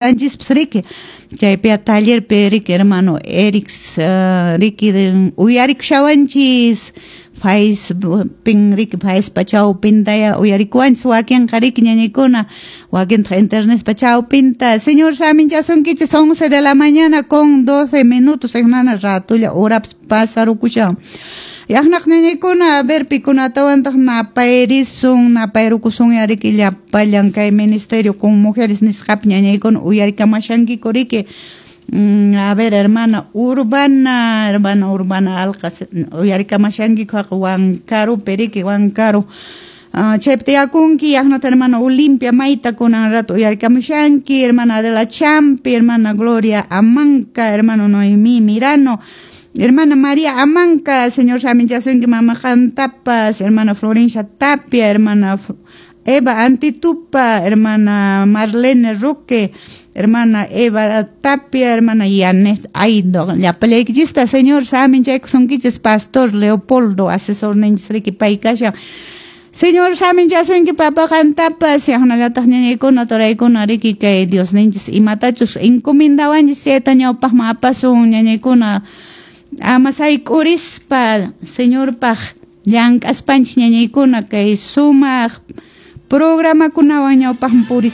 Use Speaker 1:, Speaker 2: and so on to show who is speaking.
Speaker 1: Anchispas riki chaypiya tallerpi riki hermano Erix riki uyarikushawanchis Facebookpin riki Facepa chawpintaya uyarikuwanchis wakinqa riki ñañaykuna wakintaq internetpa chawpinta. Señor saminchasunkichis 11 de la mañana con 12 minutos hermana ratulla horapas pasarukushan. Yaqnaq ñañaykuna a ver pikunatawantaq napayrisun napayrukusun riki llapallan kay ministerio con mujeres nisqapi ñañaykuna uyarikamashankiku riki. A ver, hermana Urbana Alqa uyarikamashankiku haqa Huancarupi riki Huancaro. Chaypi tiyakunki yaqnata hermana Olimpia Mayta kunan rato uyarikamushanki, hermana Adela Champi, hermana Gloria Amanca, hermano Noemí Mirano, hermana María Amanca, señor saminchasunki mama Jantapas, hermana Florencia Tapia, hermana Eva Antitupa, hermana Marlene Roque, hermana Eva Tapia, hermana Yanes Aido, llapallaykichista, señor saminchaykusunkichis, pastor Leopoldo, asesor ninchis riki paykasha. Señor saminchasunki papa qantapas, yaqnallataq ñañaykuna turaykuna riki kay Dios ninchis imatachus encomendawanchis chayta ñawpaqman apasun ñañaykuna ama sayk'urispa Señorpaq llank'aspanchis ñañaykuna kay sumaq programakunawan ñawpaqman purispa.